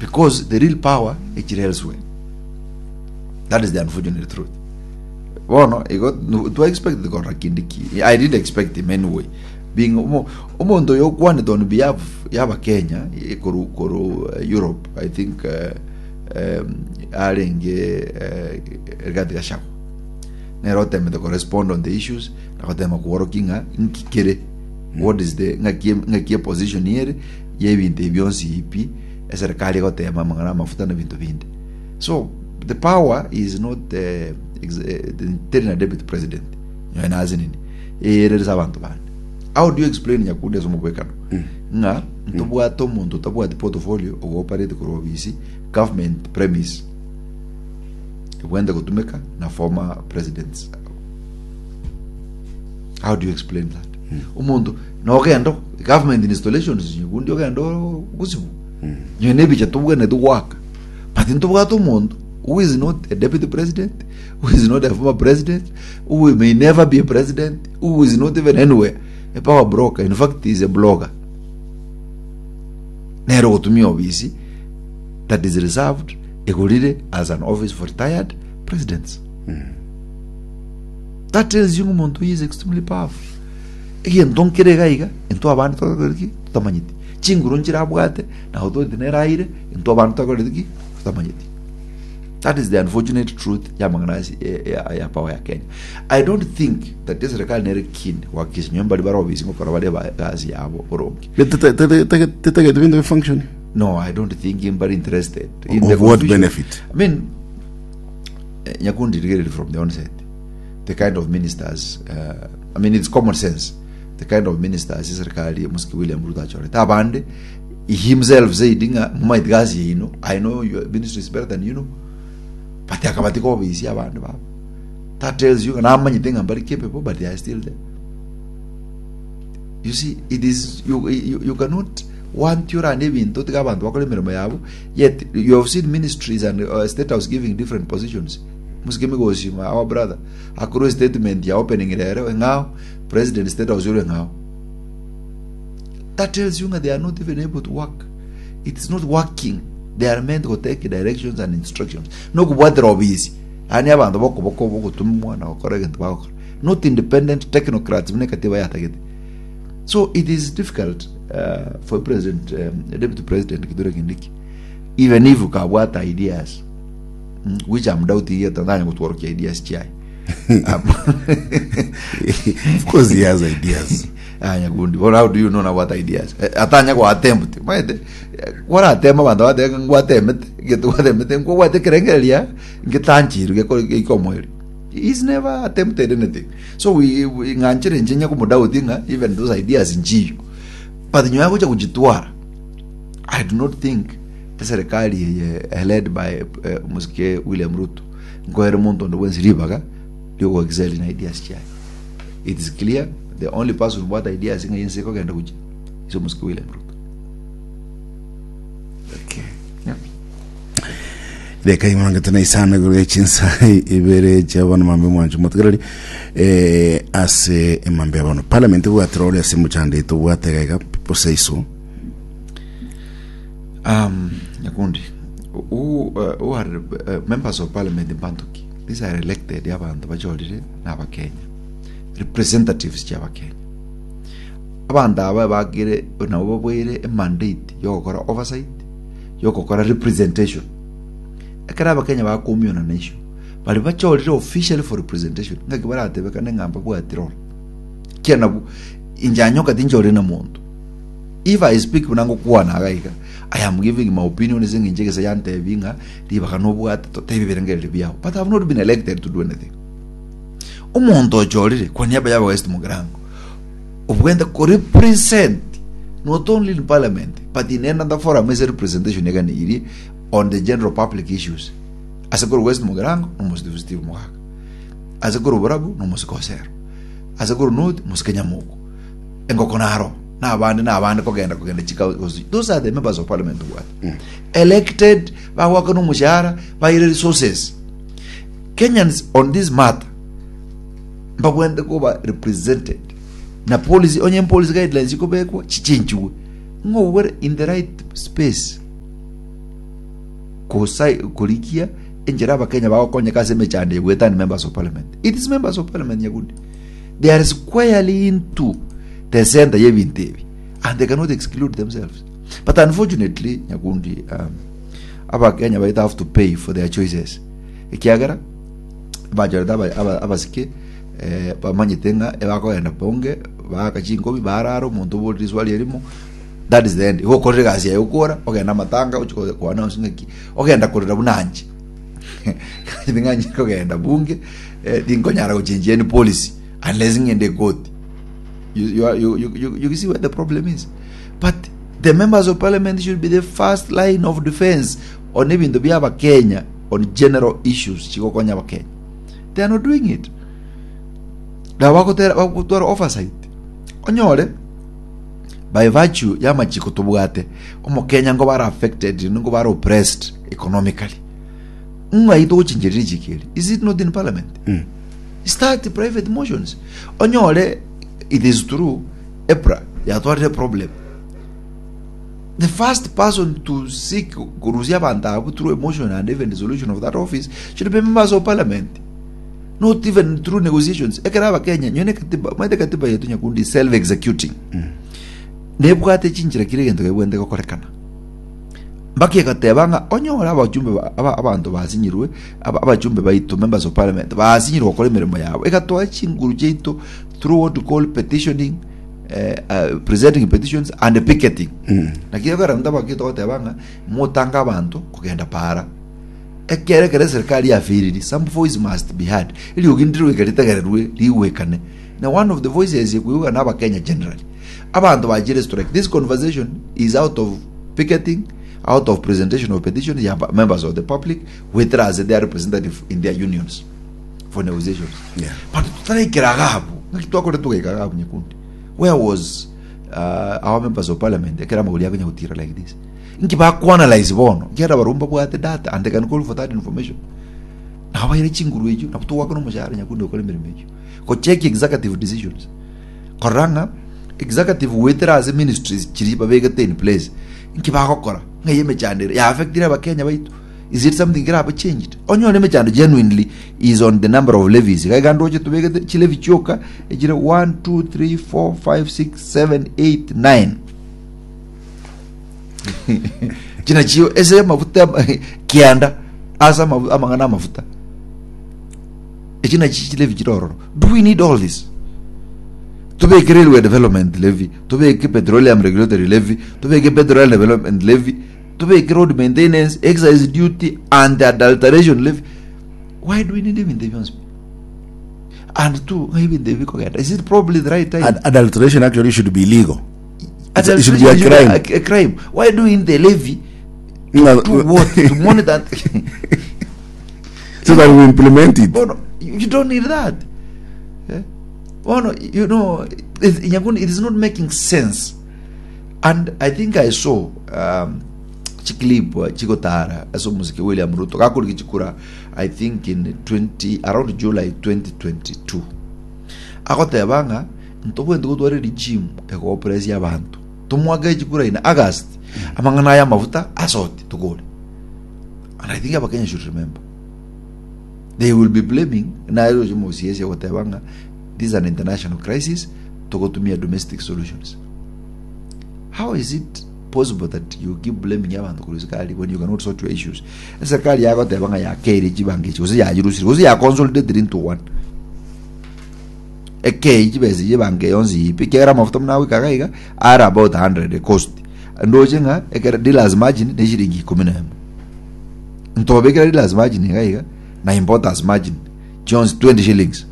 Because the real power echire elsewhere. That is the unfortunate truth. Bono igo nu- twa expect korora kindi ki. I didn't expect him anyway. Being omo- omonto oyo okwanete on behalf y'abakenya eh, koru koru eh, Europe I think eh, um, arenge eh, Rigathi Gachagua nere otemete korespond on the issues na gotema kworokia ng'a nki kere what is the ng'aki ng'aki eposition ere y'ebinto ebi bionsi pi eserikari egotema amang'ana amafuta na ebinto binde so the power is not eh, ex- eh, teri na deputy president nyoe nasinini ere ase abanto bande how do you explain nyakundi ase omobwekano ng'a ntobwate omonto otabwati portfolio ogoparete korwa obisi government premise ebwente gotumeka na former presidents how do you explain that omonto nogenda government installations nyakundi ogenda gosibu nyowe nebicha tobwenerete goaka but ntobwate omonto who is not a deputy president who is not a former president who may never be a president who is not even anywhere a power broker in fact he is a blogger nere ogotumia obisi that is reserved egorire as an office for retired presidents that tells you ng'a omonto oyo is extremely powerful egento nkere iga iga intwe abande tokoreti ki totamanyeti chinguru nchire abwate na authority nere aire intwe abande tokoreti ki totamanyeti that is the unfortunate truth ya amang'ana ase ya, ya power ya Kenya I don't think that eserikali nere keen gohakikisha nonye mbari bare obisi ngokora bare egasi yabo boronge Tetagete binto bifunction no I don't think mbari interested in the Of what confusion. benefit? I mean eh, Nyakundi rigereria from the onset the kind of ministers uh, I mean it's common sense the kind of ministers eserikali Musiki William Ruto achorete abande he himself said ng'a mumaete gasi yaino I know your ministry is better than you know but akabatika obisi abande babo that tells you ng'a namanyete ng'a mbari capable but they are still there you see it is you, you, you cannot want orane ebinto tiga abanto bakore emeremo yabo yet you have seen ministries and uh, state house giving different positions musike migosi my our brother akorwa statement ya opening rero eng'ao president state house ore eng'ao that tells you nga they are not even able to work it is not working they are meant to take directions and instructions nokobwatera obisi yaani abanto bokoboko bogotumwa na gokora egento bagokora not independent technocrats buna ekatiba yatagete so it is difficult uh, for president um, deputy president Kithure Kindiki even if ukabwata ideas mm, which I'm doubting yet tanya gotworokia ideas chiaye of course he has ideas anya gundi well, how do you know nabwate ideas Eh, atanya go attempt maete kwaratema abanto bateba ngwatemete gete gwatemete nkobwate ekerengereria ngetanchirwe geko geikomoerio he's never attempted anything so we, we ng'anchire inche nya komodoubt ng'a even those ideas nchiyo but nyuma ya gocha gochitwara I do not think eserikali eye eh, led by eh, Omosike William Ruto nkoere monto onde bwensi ribaga riogo excel na ideas chiaye it is clear the only person obwate ideas ng'a ense ekogenda gochia is Omosike William Ruto okay. yeah. Reka imangete na isano igoro ya chinsa ibere chia bono mambe mwancho motegereri eh, ase emambe ya bono parliament bwatera ore ase mochando ito bwate gaiga people say so Um, Nyakundi, who, uh, who are uh, members of parliament in Bantuki? These are elected abantu bachorire na abakenya representatives chia abakenya abanto aba bakire nabo babweire emandate yogokora oversight yogokora representation ekero abakenya bakomiona na issue bari bachorire officially for representation ng'aki baratebekane ng'a mbabwati role kia nabwo inche anyoka tinchorire na monto If I speak buna ngokwana iga iga, I am giving my opinion ase eng'encho egesa yantebi ng'a ribaga nobwate totebi ebirengererio biao. But I have not been elected to do anything. Omonto ochorire kwa niaba ya West Mugirango obwente ko represent not only in parliament but in another forum ase representation eganeirie on the general public issues. Ase korwa West Mugirango nomositifu Steve Mogaka. Ase korwa Borabu nomosike Osero. Ase korwa North mosike Nyamoko. Engoko naro na abande na abande kogenda kogenda chika gose those are the members of parliament tobwate elected bagwakana omoshahara baire resources kenyans on this matter mbabwente koba represented na policy onye policy guidelines chikobekwa chichenchiwe ng'o obwere in the right space. Kosa korigia enchera abakenya bagokonyeka ase emechando eye goetania members of parliament. It is members of parliament Nyakundi. They are squarely into the center y'ebinto ebi and they cannot exclude themselves. But unfortunately Nyakundi um, abakenya baito have to pay for their choices. Ekiagera bachorete aba- aba- abasike eh, bamanyete ng'a ebakogenda bunge baaka chinkobi barara omonto oborire riswali erimo That is the end. Igo okorire egasi yaye okora, ogenda amatanga ochi ko ko announce ng'aki, ogenda korera buna anche. Ting'anchi kogenda bunge, eh, tinkonyara gochenjia any policy unless ng'ende ekoti. You, you, are- you, you, you, you see where the problem is. But the members of parliament should be the first line of defense on ebinto bia abakenya on general issues chigokonya abakenya. They are not doing it. Nabo bagotera bagotwara oversight. Onyore by virtue y'amachiko tobwate, omokenya nkoba are affected, nkoba are oppressed economically. Ng'ai togochincheria richiko eri? Is it not in parliament? Start private motions. Onyore it is true EPRA yatwarire problem. The first person to seek korusia abanto abwo through a motion and even dissolution of that office should be members of parliament. Not even through negotiations. Ekero abakenya nyone katiba, omanyete katiba yetu nyakundi is self executing. Nebwate chinchera kire egento kebwente gokorekana. Mpaka egateba ng'a onyore abachumbe ba- aba- abanto basinyirwe aba- abachumbe baito members of parliament basinyirwe gokora emeremo yabo egatoa chinguru chiaito through what we call petitioning eh, presenting petitions and picketing. Naki ekero ntabaki togoteba ng'a motange abanto kogenda para. Ekero ekero eserikari yafailiri, some voice must be heard. Eriogi ndire goika ritegererwe rigwekane. Na one of the voices ekoigwa na abakenya generally. Abanto bachire strike. This conversation is out of picketing, out of presentation of petitions ya ba- members of the public goetera ase their representative in their unions for negotiations. Yeah. But tutaraikera iga abwo, ng'aki twakorete togaika iga abwo nyakundi. Where was uh, our members of parliament ekero amagori akonya gotira like this? Inki bakoanalyze bono? Ekiagera barobwo mbabwate data and they can call for that information. Nabo baire chinguru echio, nabo togwakana omoshahara nyakundi gokora emeremo eyio. Gocheck executive decisions. Korora ng'a executive goetera ase ministries chiria babegete in place, inki bagokora? Ng'ai emechando ere? Ya affectire abakenya baito? Is it something kerabe changed? Onyore emechando genuinely is on the number of levies. Iga iga ndoche tobegete chilevy chioka echire 1 2 3 4 5 6 7 8 9. Chinachio ase amafuta kianda ase amafu- amang'ana amafuta echi nachi chilevi chire ororo do we need all this tobeke railway development levy tobeke petroleum regulatory levy tobeke petroleum development levy tobeke road maintenance excise duty and adulteration levy why do we need ebinto ebi bionsi and two ng'a ebinto ebi bikogenda is it probably the right time Ad- adulteration actually should be illegal. It should be a Adulteration crime. A, a crime. Why do in the levy No, to what? To monitor. so that we implement it. Bono, you you don't need that. Eh? Bono, you know, it, Nyakundi, it is not making sense. And I think I saw um, chiclip uh, chigotara ase omosike William Ruto gakoriki chikura I think in 20 around July 2022 agoteba ng'a Ntobwenerete gotwara regime egooppress abanto. Tomoake chikura in August, amang'ana aya amafuta asoti tokore. And I think abakenya should remember. They will be blaming naye roche mosiesi agoteba ng'a this is an international crisis togotumia domestic solutions. How is it possible that you keep blaming abanto korwa serikali when you cannot sort your issues? Eserikali yagoteba ng'a yakeire chibango echi gose yachirusire gose yakonsolidated into one. Ekei chibesa echi ebanka eye yonsi pi ekiagera amafuta buna agoika iga iga are about 100 cost ndoche ng'a ekero dealers margin ne shilingi ikomi na emo ntobekera dealers margin iga iga na importers margin chionsi 20 shillings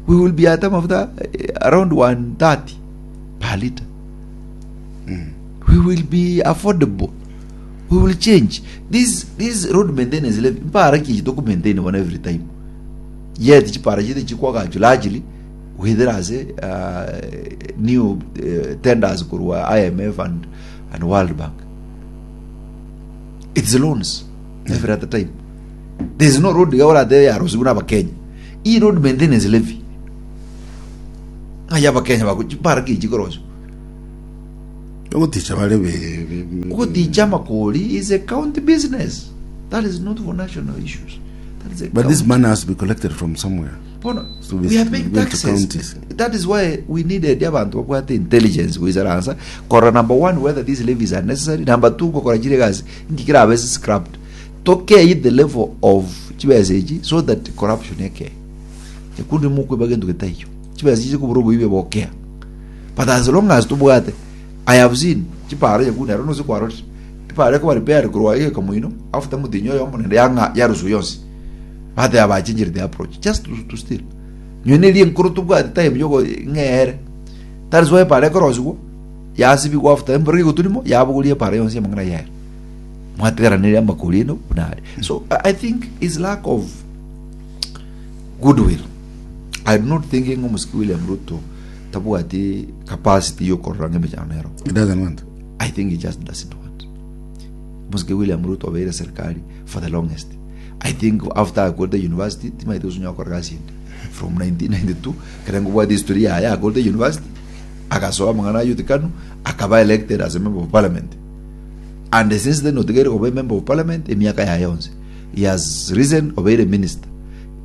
we will be at amafuta eh, around 130 per liter we will be affordable we will change this this road maintenance levy mpara ki toku maintain one every time Yet chipara chiaito chikwagachwa largely within ase uh, new uh, tenders korwa IMF and, and World Bank. It's loans every other time. There is no road iga oratebe yarosiwu na abakenya. I road maintenance levy. Ng'ai abakenya bako chipara ki chikorosiwa. Ogoticha bare be- be- be- Ogoticha amakori is a county business. That is not for national issues. That is a But this county. money has to be collected from somewhere. Bono, So we are paying went to taxes. counties. That is why we needed abantu babwate intelligence goisaransa korora number one whether these levies are necessary, number two gokora chire egasi inki kerabe scrapped tokei the level of chibesa echi so that corruption ekee ekundi mokoiba gento getaiyo chibesa echi chikobura oboibi bokea but as long as tobwate I have seen chipara nyakundi aro nose kwarorire epara ekoba repaired korwa egeka moino after motienyi oyomo naende yang'a yaruswa yonsi Bateba bachenjire the approach just to steal. Nyowe neri enkoro tobwate time yogo ng'eere. That is why epara ekorosigwa yasibigwa after embura egoturimo yabogoria epara yonsi amang'ana yaye. Mwategeranire amakori eno buna are. So I think is lack of goodwill. I do not think ng'a omosike William Ruto tabwati capacity yokorora ng'a emechando nero. He doesn't want. I think he just doesn't want. Omosike William Ruto obeire serikali for the longest. I think after akorete university timaete gosunya gokora gasi ende from 1992 ekero nkobwate history yaye akorete university agasoa amang'ana a youth kanu akaba elected as a member of parliament and since then otigaire koba a member of parliament emiaka yaye yonsi he has risen obeire minister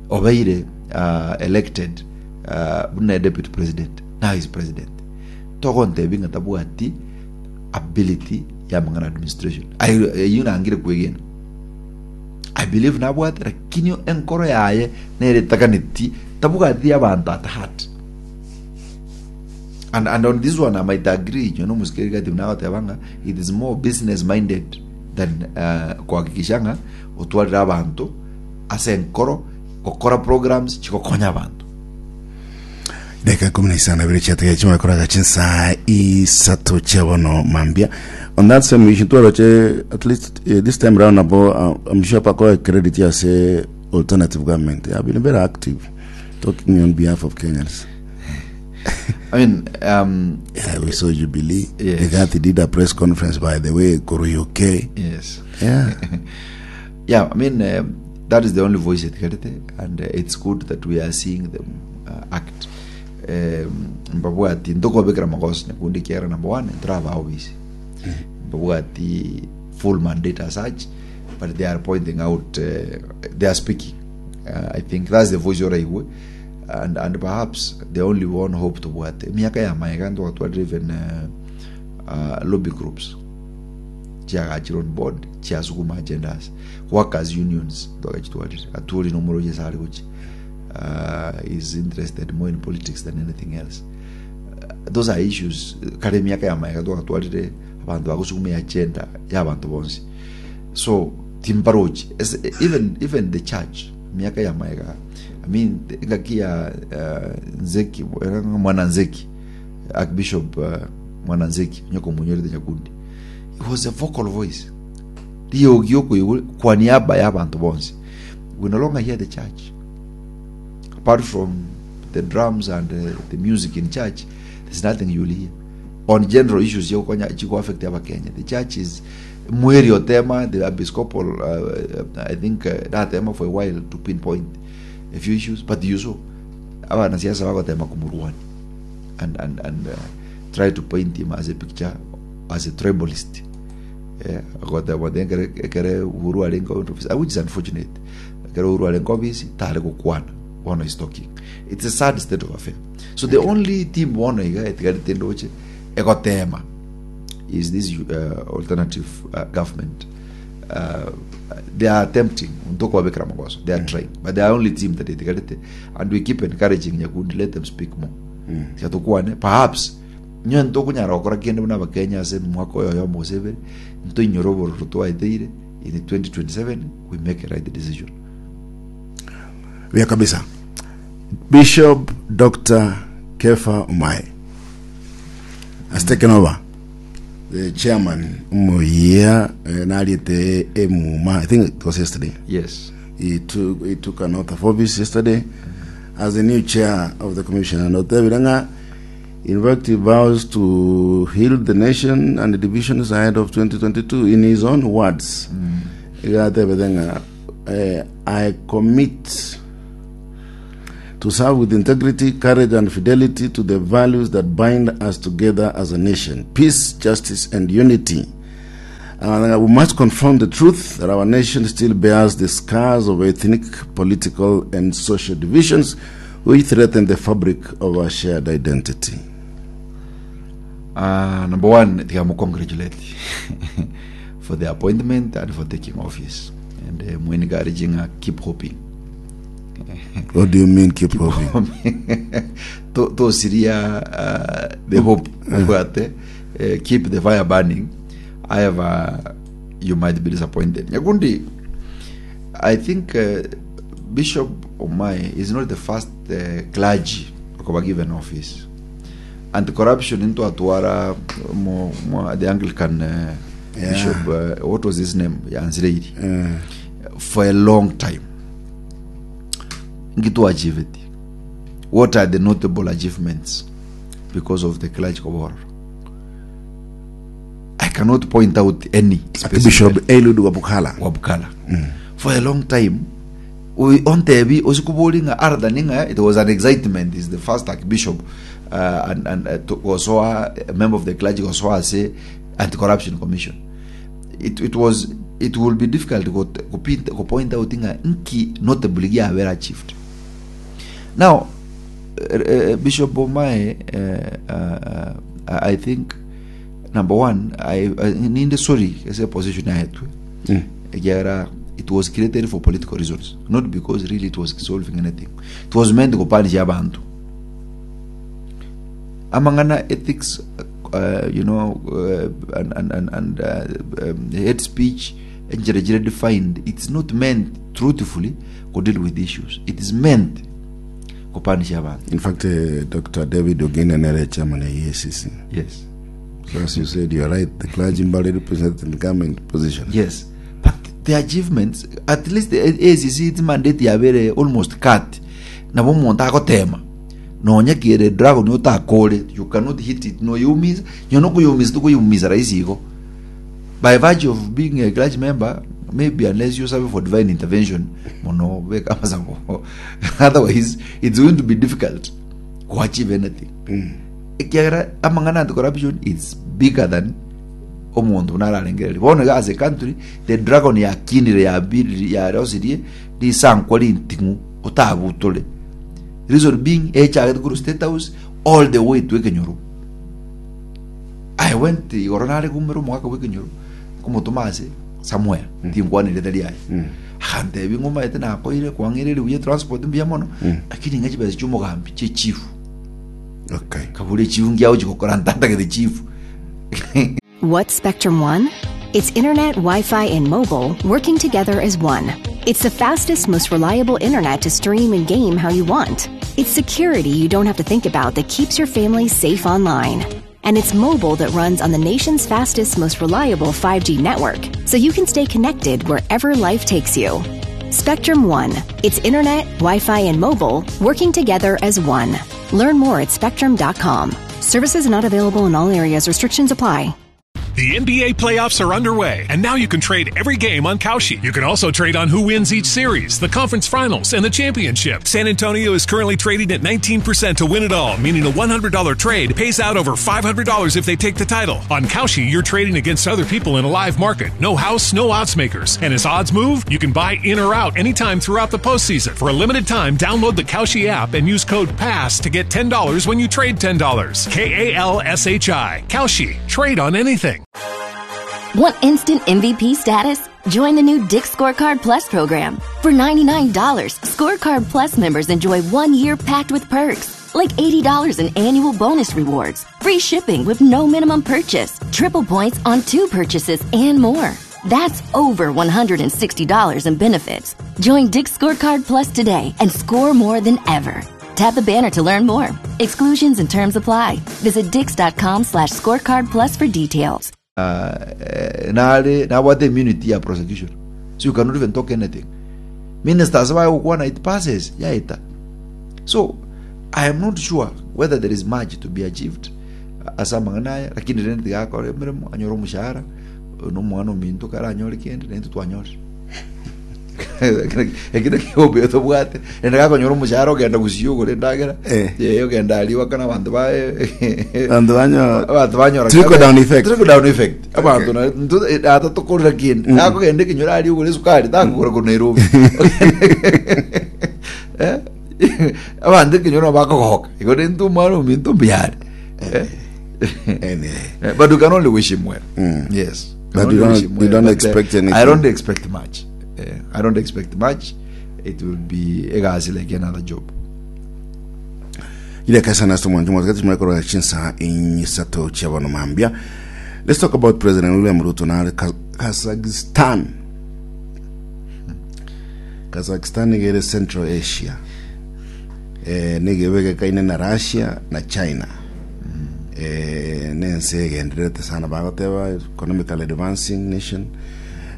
obeire uh, elected uh, buna deputy president now he is president togontebi ng'a tabwati ability ya amang'ana administration Aye- eyio nangire kwegena I believe nabwate lakini enkoro yaye nere etaganeti tabwati abanto at heart and, and on this one I might agree inwe nomosikeri gati buna agoteba ng'a it is more business minded than uh, kuhakikisha ng'a otwarire abanto ase enkoro gokora programs chigokonya abanto. Dakika 12 chiatigaire chimare koraga chinsaa isato chia bono mambia. On that same issue twaroche at least eh, this time round nabo I'm sure pakoe credit ase alternative government. They have been very active talking on behalf of Kenyans. I mean, um, Yeah, we saw Jubilee. Yes. Rigathi did a press conference by the way, Kuru UK. yes. Yeah. Yeah, I mean, that is the only voice etigarete and it's good that we are seeing them act. Mbabwati ntokobekera magoso nyakundi ekiagera number one ntoraba obisi mbabwati full mandate as such but they are pointing out they are speaking I think that's the voice oraigwe and perhaps the only one hope tobwate emiaka ya maega ntwatwarire even lobby groups chiagachire on board chiasuguma agendas workers unions twagachitwarire Atwoli nomoroche ase are gochia is interested more in politics than anything else those are issues kare emiaka ya maega twagatwarire abanto bagosuguma eagenda ya abanto bonsi so timbarochi even even the church emiaka ya maega I mean engaki ya Nzeki mwana Nzeki Archbishop mwana Nzeki onye komonyorete Nyakundi It was a vocal voice riogi okoigwa kwa niaba ya abanto bonsi we no longer hear the church apart from the drums and the music in church there's nothing you'll hear on general issues chigokonya chigo affect abakenya the church is mweri otema the episcopal I think natema for a while to pinpoint a few issues but you saw abanasiasa bagotema komorwania and, and, and try to paint him as a picture as a tribalist eh, agoteba ati ekere ekere Uhuru arenge office which is unfortunate ekere Uhuru arenge office tare gokwana bono is talking it's a sad state of affair so the only team bono iga etigarete ndoche egotema is this alternative government they are attempting ntokobabekera magoso they are trying but they are only team that etigarete and we keep encouraging nyakundi let them speak more tiga tokwane perhaps Inwe ntokonyara gokora kende buna Abakenya ase omwaka oyo oyomo gose ebere, ntoinyore obororo twaeteire in 2027 we make a right decision. Buya kabisa. Bishop Dr. Kefa Omae has taken over the chairman omoyia eh, nariete emuma I think it was yesterday. Yes. He took an oath of office yesterday as the new chair of the commission and otebire ng'a In fact, he vows to heal the nation and the divisions ahead of 2022. In his own words, iga atebete ng'a eh, I commit to serve with integrity, courage and fidelity to the values that bind us together as a nation, peace, justice and unity. We must confront the truth that our nation still bears the scars of ethnic, political and social divisions which threaten the fabric of our shared identity. Number one, tiga mo congratulate for the appointment and for taking office. And mo encouraging keep hoping. What do you mean keep hoping? To- tosiria the hope obwate keep the fire burning however you might be disappointed nyakundi i think bishop omae is not the first clergy okoba given office anti-corruption intwatwara mo, mo, the anglican bishop what was his name yansireiri for a long time nki twachieveti what are the notable achievements because of the clergy kobororo i cannot point out any Archbishop Eliud Wabukala. Wabukala for a long time we- ontebi osikobori ng'a other than ng'a it was an excitement is the first archbishop and to gosoa a member of the clergy gosoa ase anti-corruption commission it, it was it will be difficult go, go, go point out ng'a nki notably giabera achieved now Bishop Omae I think number one I, I, ninde sorry ase position yaetwe ekiagera it was created for political reasons not because really it was solving anything it was meant gopanisha abanto amang'ana ethics you know and hate speech enchera chire defined it's not meant truthfully go deal with issues it is meant gopanisha abanto In fact, Dr. David Ogina nere chairman ya EACC. yes So as you said, you're right. The clergy mbali represented in government position. yes but the achievements at least the ACC its mandate yabere almost cut nabo omonto agotema nonya kere dragon otakore you cannot hit it no yumiza nyono okuyumiza tokoyumiza rahisi igo by virtue of being a clergy member maybe unless you serve for divine intervention mono beka amasabo otherwise it's going to be difficult to achieve anything ekiagera amang'ana anti corruption is bigger than omonto buna ararengereria bono iga as a country the dragon yakinire yabiriri yarosirie risankwa rinting'u otabutore reason being echagete korwa state house all the way to ekenyoro I went igoro nare kumera omogaka bw'ekenyoro komotoma ase somewhere tinkwanire tari aye akantebi ng'omaete nakoire kwang'ereire buya transport mbuya mono lakini ng'a chibesa chia omogambi chia echifu Okay. kabura echifu ngiagochi gokora ntantagete chifu What's Spectrum One? It's internet, Wi Fi, and mobile working together as one. It's the fastest, most reliable internet to stream and game how you want. It's security you don't have to think about that keeps your family safe online. And it's mobile that runs on the nation's fastest, most reliable 5G network, so you can stay connected wherever life takes you. Spectrum One. It's internet, Wi Fi, and mobile working together as one. Learn more at spectrum.com. Services not available in all areas. Restrictions apply. The NBA playoffs are underway, and now you can trade every game on Kalshi. You can also trade on who wins each series, the conference finals, and the championship. San Antonio is currently trading at 19% to win it all, meaning a $100 trade pays out over $500 if they take the title. On Kalshi, you're trading against other people in a live market. No house, no odds makers. And as odds move, you can buy in or out anytime throughout the postseason. For a limited time, download the Kalshi app and use code PASS to get $10 when you trade $10. K A L S H I. Kalshi. Trade on anything. Want instant MVP status? Join the new Dick's Scorecard Plus program. For $99, Scorecard Plus members enjoy 1 year packed with perks, like $80 in annual bonus rewards, free shipping with no minimum purchase, triple points on 2 purchases, and more. That's over $160 in benefits. Join Dick's Scorecard Plus today and score more than ever. Tap the banner to learn more. Exclusions and terms apply. Visit dix.com/scorecard plus for details. Nare nabwate immunity ya prosecution so you cannot even talk anything ministers bagokwana it passes yaeta so i am not sure whether there is much to be achieved ase amang'ana aya lakini rende tiga akore emeremo anyore omoshahara na omwana ominto kare anyore kende naintwe twanyorire. Ekio nakio obuya tobwate. Naende gakonyora omoshahara ogenda gusii ogore endagera, Eh. eh, ogenda aria goakana abanto baye Abanto banyo- abanto banyora Trickle down effect. Trickle down effect. Abanto na nto- eh, ata tokorera kende. Nakogenda ekenyoro aria ogore esukari takogora korwa Nairobi. Eh, abanto ekenyoro nabo bakogoka. Igo rende omwana ominto mbuya are. Eh. Anyway. Eh, But you can only wish him well. Yes. But Can you only don't- wish him you don't but, eh, expect anything. I don't expect much. Eh, I don't expect much. It will be egasi like another job. Ile kasa na somo njuma kati mwekoro chinsa inyisato chia bono mambia. Let's talk about President William Ruto na Kazakhstan. Kazakhstan igere Central Asia. Eh nigebeke kaine na Russia na China. Eh nense egendererete sana bagoteba economically advancing nation.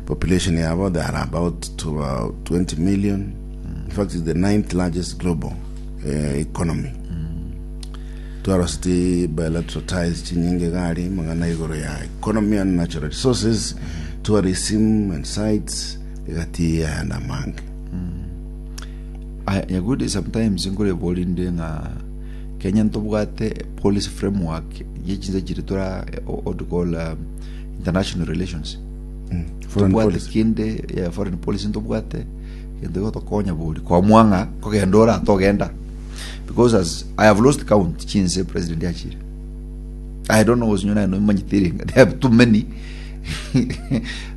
Population yabo they are about to 20 million. In fact it's the ninth largest global eh, economy. Twaroseti bilateral ties chinyinge gari mang'ana igoro ya economy and natural resources, tourism and sites egati yayanda amange. Aya, Nyagudi sometimes nkoreba orinde ng'a Kenya ntobwate policy framework ye chinse chiri tora what to call international relations. Foreign Ntobwate policy. kende ya foreign policy ntobwate gento gotokonya bori kwamua ng'a kogenda ora togenda because as I have lost count chinse president achire I don't know gose naye nomanyete ere there are too many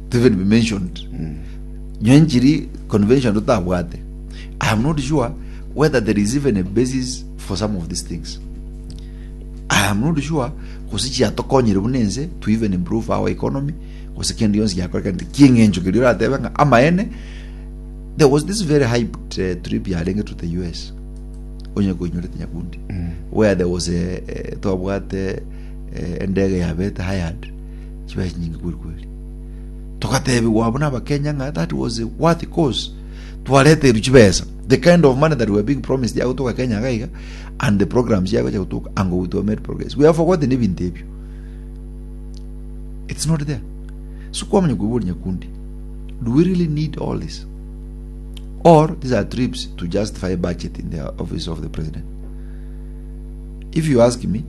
to even be mentioned nyowe nchiri convention totabwate I am not sure whether there is even a basis for some of these things I am not sure gose chiatokonyire buna ense to even improve our economy gose kende gionsi giakorekanete kieng'encho keria oratebe ng'a amaene there was this very hyped trip yarenge to the US onye koinyorete nyakundi where there was a, eh, twabwate eh, endege yabete hired chibesa chinyinge kweli kweli togatebigwa abwo na abakenya ng'a that was a worthy cause twareterwe chibesa the kind of money that we were being promised yagotoka kenya iga iga and the programs yagocha gotoka ango we made progress we have forgotten ebinto ebio it's not there so kwamanya koiboria nyakundi do we really need all this or these are trips to justify budget in the office of the president if you ask me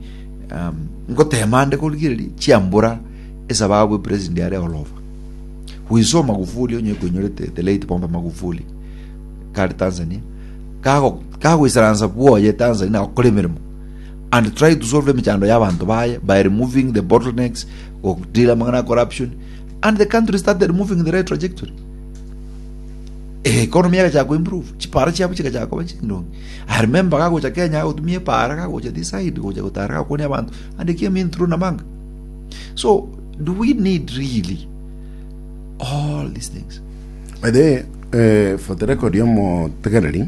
um, ngotema ande korigereria chiambura esababu epresident are all over we saw magufuli onye koinyorete the late pombe magufuli kare tanzania kago kagoisaransa bwoye tanzania na gokora emeremo and try to solve emechando ya abanto baye by removing the bottlenecks godeal amang'ana ya corruption and the country started moving in the right trajectory economy yagachaka koimprove chipara chiabo chigachaka koba chindonge i remember kagocha kenya agotumia epara kagocha this side gocha gotara gakwania abanto and he came in through namanga so do we need really all these things By the way, eh, for the record yomotegereri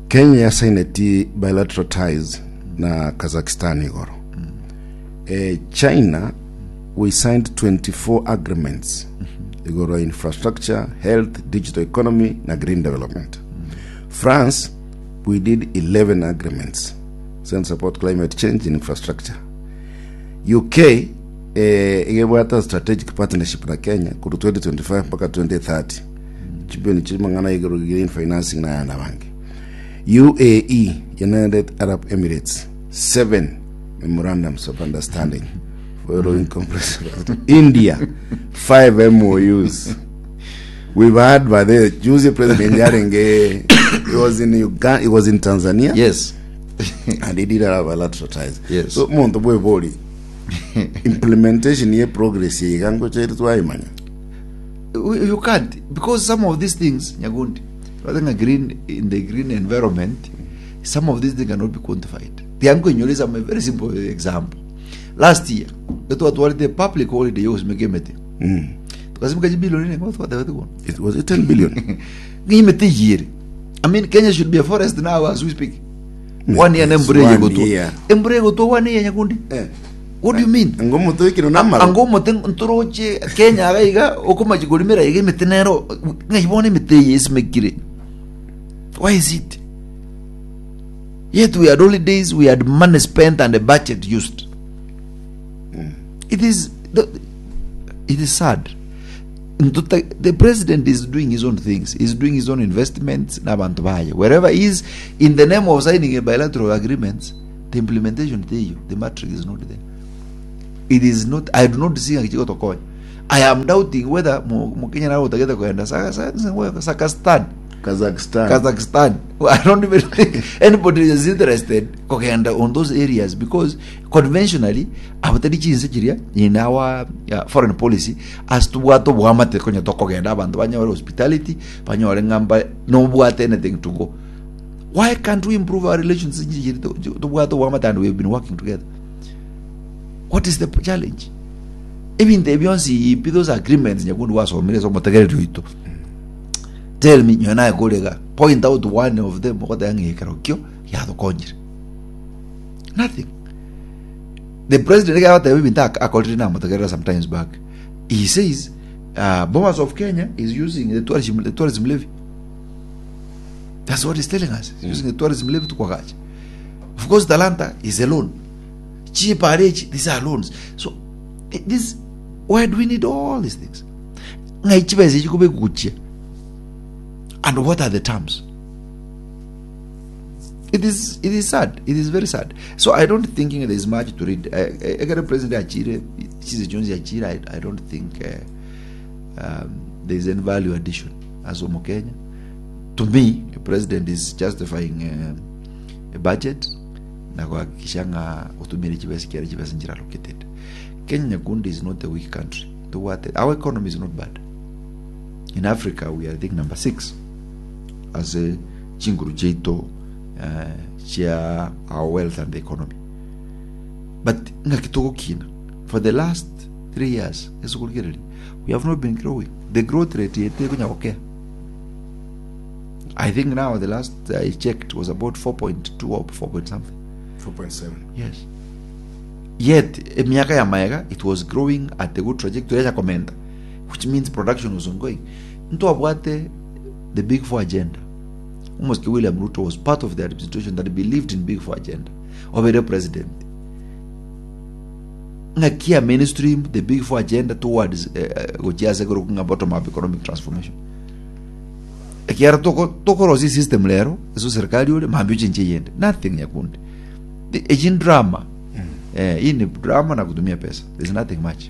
Kenya yasaineti bilateral ties na Kazakhstan igoro eh, China we signed 24 agreements igoro ya infrastructure health digital economy na green development France we did 11 agreements send support climate change in infrastructure UK eh, igebwata strategic partnership na Kenya korwa 2025 mpaka 2030 chibilioni chimang'ana igoro green financing na ayanda abange UAE United Arab Emirates 7 memorandums of understanding following comprehensive India 5 MOUs we've had by the juzi president yarenge he was in Uganda he was in Tanzania yes and he did have bilateral ties Yes. so monto bwebori implementation ye progress iga ngocha ere twaimanya you can't because some of these things nyagundi I think a green in the green environment some of these things cannot be quantified tiankoinyora some a very simple example last year etwatwarite public holiday yogosimeka emete tukasimeka chibilioni nengo twatebete kono it was it 10 billion ng'a emete eyere i mean kenya should be a forest now as we speak one year Yes, nembura eye one egotwa year. embura egotwa one year nyakundi Eh. what do you mean Ango omote oikire namaro ango omote ntoroche kenya iga iga okomachi korimera iga emete nero ng'ai bono emete eye esimekire why is it yet we had holidays we had money spent and a budget used it is the, it is sad. Ntuta, the president is doing his own things. He's doing his own investments na abanto baye. Wherever he is, in the name of signing a bilateral agreements, the implementation teiyo, the matrix is not there. It is not, I do not see ng'aki chigotokonya. I am doubting whether mo- Mokenya nare otagete kogenda Saka- Saka- Sakastan. Kazakhstan. Kazakhstan. I don't even think anybody is interested kogenda on those areas because conventionally abatari chinse chiria in our foreign policy as tobwate obwamate konya tokogenda abanto banyore hospitality banyore ng'a mba nobwate anything to go why can't we improve our relations chinse chiria tobwate obwamate and we have been working together what is the challenge ebinto ebi bionsi pi those agreements nyakundi gwasomire ase omotegereri oito tell me nyowe naye korega point out one of them ogoteba ng'a ekero kio giatokonyire nothing the president iga agoteba ebinto ak- akorire namotegerera sometimes back he says uh, Bomas of Kenya is using the tourism, the tourism levy that's what he's telling us he's using the tourism levy to kwagacha of course Talanta is a loan chipare echi these are loans so this why do we need all these things ng'ai chibesa echi kobe guchia and what are the terms it is it is sad it is very sad so i don't think there is much to read Eh, eh, ekero president achire chise chionsi achire I, i don't think uh, um, there is any value addition as omokenya to me the president is justifying uh, a budget na kuhakikisha ng'a otumire chibesa kiare chibesa nchire allocated kenya nyakundi is not a weak country tobwate our economy is not bad in africa we are i think number six ase chinguru chiaito eh, chia our wealth and the economy but ng'aki togokina for the last 3 years ase okorigereria we have not been growing the growth rate yetu ekonya gokea i think now the last i checked was about 4.2 or 4 point something 4.7 yes yet emiaka ya maega it was growing at a good trajectory yacha komenta which means production was ongoing ntwabwate the big four agenda omosike william ruto was part of the administration that believed in big four agenda obeire president ng'aki ya mainstream the big four agenda towards eh, eh, gochia ase korokwa ng'a bottom up economic transformation ekiagera toko tokorosia system rero ase serikali ore mambia ochenche eyende nothing nyakundi echi ni drama eh, hii ni drama na kutumia pesa there's nothing much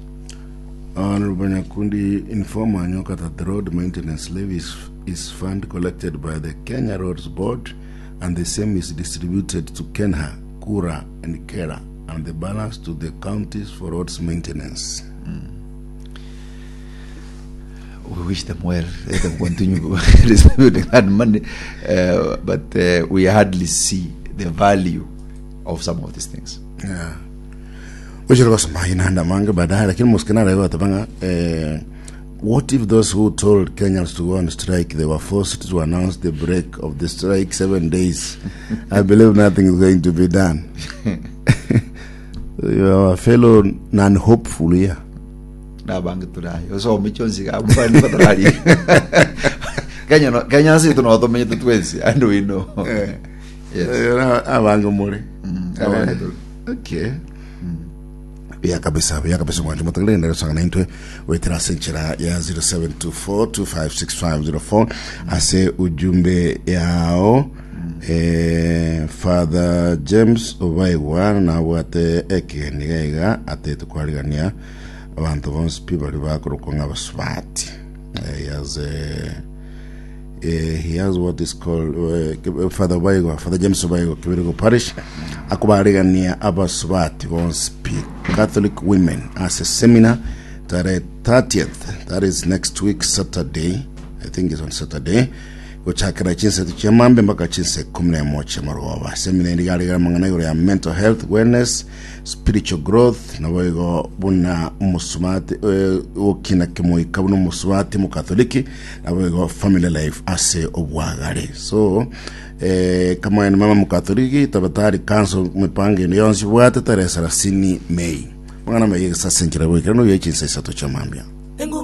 Honorable Nyakundi inform Anyoka that the road maintenance levy is fund collected by the Kenya Roads Board and the same is distributed to Kenha, Kura and Kera and the balance to the counties for roads maintenance. we wish them well. Let them continue distributing that money. But we hardly see the value of some of these things. Yeah. Ochire gosoma inanda mange baadaye lakini musikana leo atabanga eh, what if those who told Kenyans to go on strike they were forced to announce the break of the strike 7 days I believe nothing is going to be done you are a fellow non-hopeful here Nabange turayo. Osome chonsi gambani batarari. Kenya no Kenya si tunotomenyete twensi and we know. Yes. Abange muri Abange turi. Okay buya kabisa buya kabisa mwanje mutaglenda rusanga naintwe wetera ase enchera ya 0724256504 ase ujumbe yao eh, Father James Obaigwa nabwate ekegeni gaiga atete kwarigania abanto bonsi pi bari bakorokwa ng'abasubati eh, he has he has what is called Father Obaigwa, Father James Obaigwa, Kibirigo Parish, akubarigania abasubati bonsi pi Catholic women as a seminar tarehe 30th, that is next week Saturday, I think it's on Saturday, gochakera chinse chiamambe mpaka chinse 11 chiamaroba seminar eri garigara mang'ana igoro ya mental health wellness spiritual growth nabo igo buna omusubati eh, gokina kemoika buna omusubati mokatholiki nabo igo family life ase obwagare so eh, kama ene mama mokatholiki tabatari council mipango ene yonsi bwate tarehe 30 May mang'ana maye gesa ase enchera boikera noyo echinsa isato chiamambia Enguba.